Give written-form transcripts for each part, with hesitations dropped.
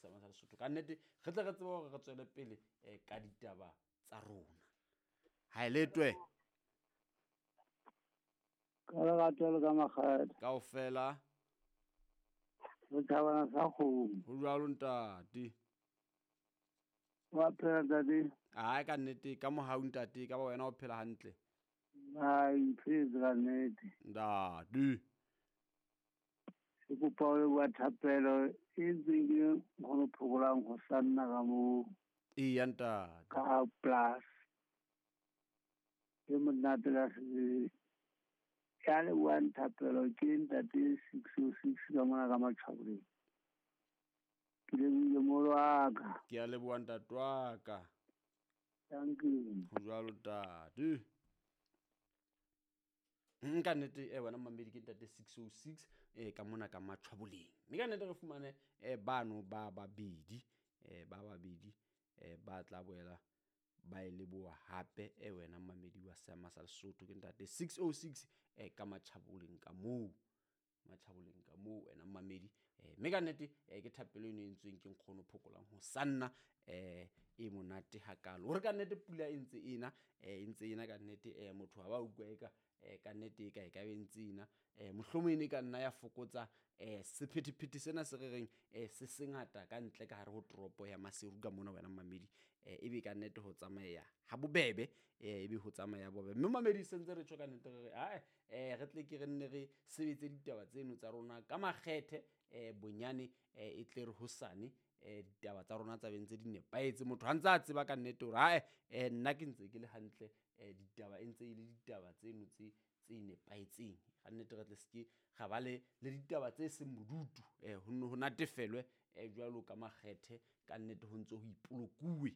Seama sa Lesotho. Ka nnete re tle re tsebe hore re tswele pele ka ditaba tsa rona. Ha e letwe. Ka lerato le ka makgethe. Kaofela. Re thabana sa kgomo. Ho jwalo ntate. Wa phela ntate? Ai ka nnete ka mohau ntate, ka ba wena o phela hantle. Ai phetse ka nnete. Ntate. Ke kopa o leboha thapelo e ntseng ke nkgono Phokolang ho sanna ka moo. Eya ntate. Ka plus. Ke monate ka sebele. Ya lebohang thapelo ke ntate 606 ka mona ka Matjhaboleng. Ke lebohile molo wa ka. Ke a leboha ntate wa ka. Thank you. Ho jwalo ntate. Nka nnete wena mamedi ke ntate 606 ka mona ka Matjhaboleng. Mme ka nnete re fumane bano ba babedi ba tla boela ba e leboha hape wena mamedi wa Seama sa Lesotho ke ntate 606 ka Matjhaboleng ka moo. Matjhaboleng ka moo wena mamedi mme ka nnete ke thapelo eno e entsweng ke nkgono Phokolang ho sanna e monate hakalo. Hore ka nnete pula e ntse ena e ntse ena ka nnete motho ha ba utlwa eka ka nnete e ka be ntse ena mohlomong e ne ka nna ya fokotsa sephethephethe sena se re reng se sengata ka ntle ka hare ho toropo ya Maseru ka mona wena mamedi ebe ka nnete ho tsamaya ha bobebe ebe ho tsamaya bobebe. Mme mamedi se ntse re tjho ka nnete re re ae re tle ke re nne re sebetse ditaba tseno tsa rona ka makgethe bonyane e tle re hosane ditaba tsa rona tsa be ntse di nepahetse. Motho ha ntse a tseba ka nnete hore ae nna ke ntse ke le hantle ditaba e ntse e le ditaba tseno tse nepahetseng. Ka nnete re tle seke ra ba le ditaba tse seng bodutu ho nne ho natefelwe jwalo ka makgethe. Ka nnete ho ntse ho ipolokuwe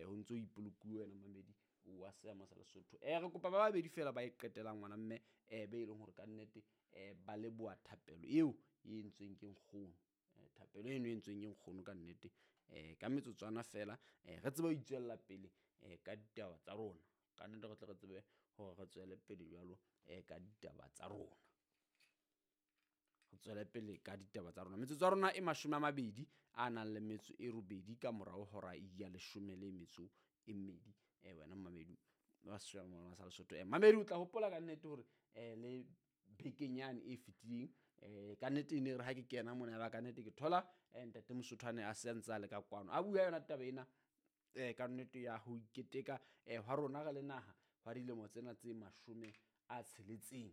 ho ntse ho ipolokuwe wena mamedi wa Seama sa Lesotho. Re kopa ba babedi fela ba e qetelang ngwana mme be e leng hore ka nnete ba leboha thapelo eo e entsweng ke nkgono. Thapelo eno e entsweng ke nkgono ka nnete ka metsotswana fela re tsebe ho itswella pele ka ditaba tsa rona. Ka nnete re tle re tsebe hore re tswele pele jwalo ka ditaba tsa rona. Re tswele pele ka ditaba tsa rona. Metsotso ya rona e 20 a nang le metso e 8 ka morao hora ya 12. Wena mamedi wa Seama sa Lesotho. Mamedi o tla hopola ka nnete hore le bekenyane e fetileng ka nnete e ne re ha ke kena mona ba ka nnete ke thola ntate Mosotho a ne a se a ntse a le ka kwano. A bua yona taba ena ka nnete ya ho iketeka hwa rona re le naha hwa dilemo tsena tse 60.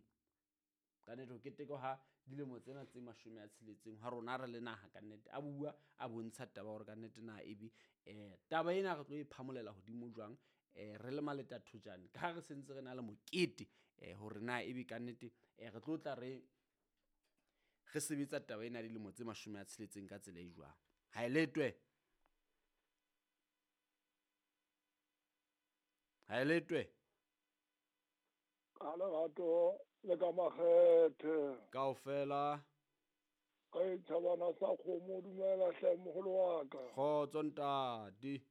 Ka nnete ho keteka ha dilemo tsena tse 60 hwa rona re le naha ka nnete. A bua a bontsha taba hore ka nnete na ebe taba ena re tlo e phamolela hodimo jwang re le maleta thojane ka ha re sentse re na le mokete hore na ebe ka nnete re tlo tla re sebetsa taba ena dilemo tse 60 ka tsela e jwang. Ha e letwe. Ha e letwe. Ka lerato le ka makgethe. Kaofela. Ka thabana sa kgomo dumela hle moholo wa ka. Kgotso ntate.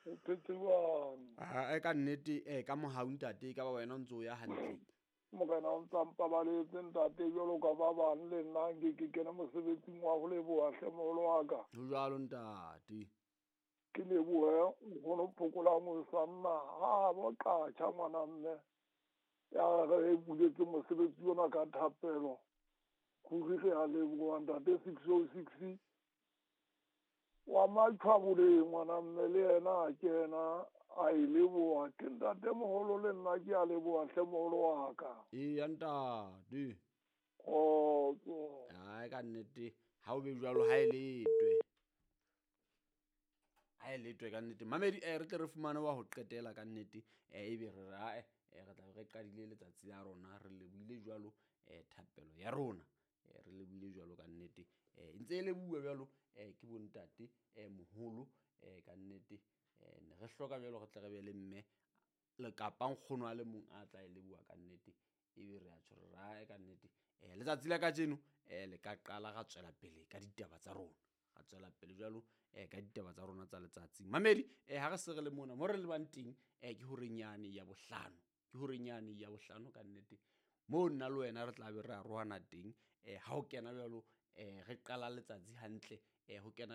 O phetse jwang? Ka nnete ka mohau ntate ka ba wena o ntse o ya hantle. Morena o ntsa mpabaletse ntate jwalo ka ba bang le nna nke ke kene mosebetsing wa ho leboha hle moholo wa ka. Ho jwalo ntate. Ke lebohe nkgono Phokolang ho sanna ha bo qatjha ngwana mme. Ya re buletse mosebetsi ona ka thapelo. Ruri re a leboha ntate 606 wa Matjhaboleng ngwana mme le yena a kena a e leboha. Ke ntate moholo le nna ke a leboha hle moholo wa ka. Eya ntate. Kgotso. Ai ka nnete ha o be jwalo ha e letwe. Ha e letwe ka nnete. Mamedi re tle re fumane wa ho qetela ka nnete ebe re re ae re tla re qadile letsatsi la rona re lebohile jwalo thapelo ya rona re lebohile jwalo ka nnete ntse e lebohuwa jwalo ke bontate moholo ka nnete ne re hloka jwalo re tle re be le mme le kapa nkgono a le mong a tla e leboha ka nnete ebe re a tjho re ae ka nnete letsatsi la kajeno le ka qala ra tswela pele ka ditaba tsa rona. Ra tswela pele jwalo ka ditaba tsa rona tsa letsatsi. Mamedi ha re se re le mona mo re lebang teng ke horenyane ya bohlano. Ke horenyane ya bohlano ka nnete mo nna le wena re tla be re arohana teng ha o kena jwalo re qala letsatsi hantle ho kena